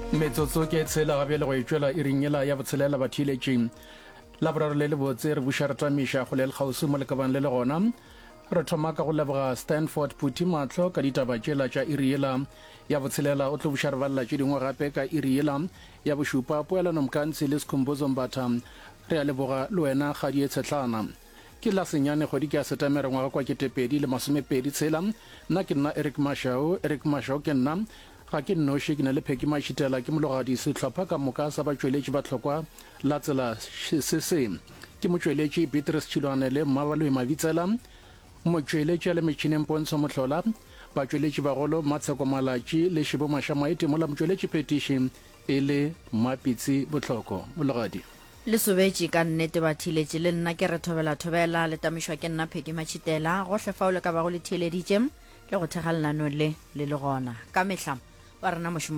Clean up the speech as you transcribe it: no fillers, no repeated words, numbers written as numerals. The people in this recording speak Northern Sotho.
Metsotso ke tshela ga bjale go e tšwela iring yela ya botshelela batheeletši. Laboraro le lebotse re buša re tamiša kgole le kgauswi mo le ka bang le le gona. Re thoma ka go leboga Stanford Phuthi Mahlo ka ditaba tšela tša iri yela ya botshelela. O tlo buša re balela tše dingwe gape ka iri yela ya bošupa. Poelano Mkantsi le Skhumbuzo Mbatha re a leboga le wena Kgadie Tshetlana. Ke la senyane kgwedi ke ya Setemere ngwaga kwa 2020 tshela. Nna ke nna Eric Mashau, Eric Mashau ke nna. Ga ke nnoši, ke na le Peggy Mashitela, ke mologadi sehlopha ka moka sa batšweletši ba hlokwa la tsela se se. Ke motšweletši Beatrice Tšhilwane le Mmabaloi Mabitsela, motšweletši a le metšhineng Pontsho Mohlola, batšweletši bagolo Mmatsheko Malatši le Šebo Mašamaite mola motšweletši phetiši e le Mmapitsi Bohloko. Mologadi. Le sobetše ka nnete batheeletši, le nna ke re thobela thobela, le tamišwa ke nna Peggy Matšhitela, gohle fao le ka bago le theeleditše le go thekga lenaneo le le le gona ka mehla wa rena mošomo.